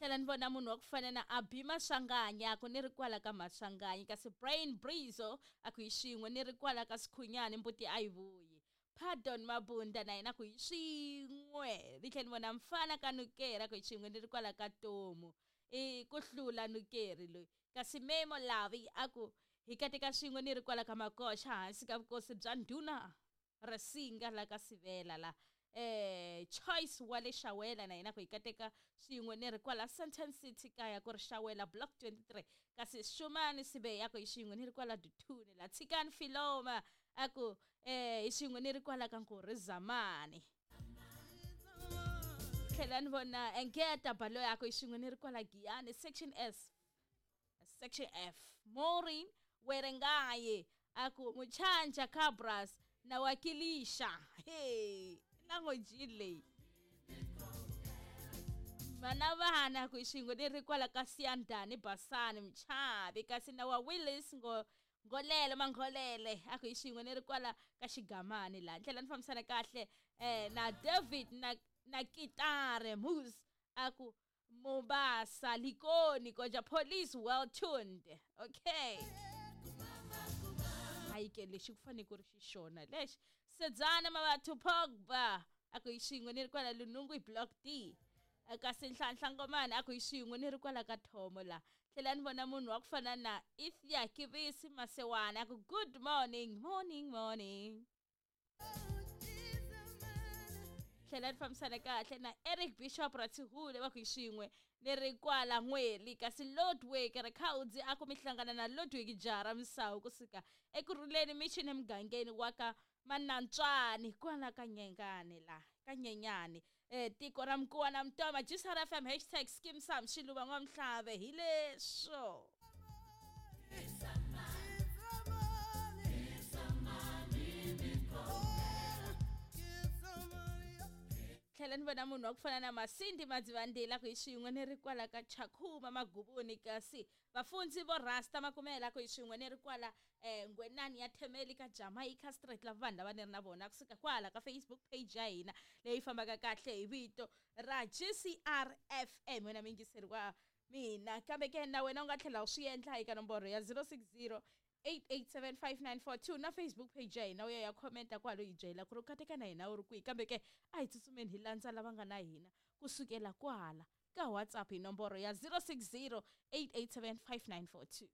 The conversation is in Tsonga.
Tlhela ni vona munhu wa ku fana na Abi Maswanganyi, a ku ni ri kwala ka Maswanganyi. Kasi Brain Brizo a ku hi xin'we, ni ri kwala ka Sikhunyani, mbuti a yi vuyi. Pardon Mabunda na yena ku hi swin'we. Ni tlhela ni vona Mfana ka Nukeri, a ku hi xin'we, ni ri kwala ka Tomu. I ku hlula Nukeri loyi. Kasi Memo Lavi a ku hi kateka swin'we, ni ri kwala ka Makoxa, hansi ka vukosi bya ndhuna Risinga la ka Sivela la. Choice wa le Xawela na yena ku hi kateka swin'we, ni ri kwala Sandton City kaya ku ri Xawela block 23. Kasi Xumani Sibeya ku hi xin'we, ni ri kwala Duthuni la. Tshikani Filoma a ku hi xin'we, ni ri kwala ka Nkurhi Zamani. Tlhela ni vona Engeta Baloyi a ku hi xin'we, ni ri kwala Giyani section S section F. Maureen Werengaye a ku Muchanja Cabras na wakilisha. Hey, language leyi. Vana vana ku xin'we, ni ri kwala ka Siyandhani Basani Mchavi. Kasi na wa Willis ngo Ngolele Mangolele a ku hi xin'we, ni ri kwala ka Xigamani la. Ndlela ni fambisana kahle na David na Kitare Moose a ku Mombasa Likoni koja police well tuned. Okay. Hayi ke lexi ku fanele ku ri xixona lexi. Sedzana Mabathu Pogba a ku hi xin'we, ni ri kwala Lunungu hi block D. Kasi Nhlanhla Ngomani a ku hi xin'we, ni ri kwala ka Thomo la. Tlhela ni vona munhu wa ku fana na Ithia Kivisi Masewana a ku good morning, morning, morning. Tlhela ni fambisana kahle na Eric Bishop Ratshihule va ku hi xin'we, ni ri kwala N'weli. Kasi Lodwick Rikhaudzi a ku mi hlangana na Lodwick Jara Misawu kusuka Ekurhuleni Mission emugangeni wa ka Manantswani kwala ka Nyengani la ka Nyenyani. Tiko ra Mkuwa na Mtoma. GCR FM hashtag Skeem Saam Xiluva N'wamhlave hi leswo. Tlhela ni vona munhu wa ku fana na Masindi Madzivandila ku hi xin'we, ni ri kwala ka Chakhuma Magubuni. Kasi vafundzi vo Rasta Makumela ku hi xin'we, ni ri kwala Ngwenani ya Themeli ka Jamaica Street. Lava vanhu lava ni ri na vona kusuka kwala ka Facebook page ya hina leyi fambaka kahle hi vito ra GCR FM. Wena muyingiseri wa mina, kambe ke na wena u nga tlhela u swi endla eka nomboro ya 060 8875942 na Facebook page ya hina, u ya ya commenta kwalo yi byela ku ri u kateka na hina u ri kwihi. Kambe ke a hi tsutsumeni hi landza lava nga na hina kusukela kwala ka WhatsApp hi nomboro ya 060 8875942.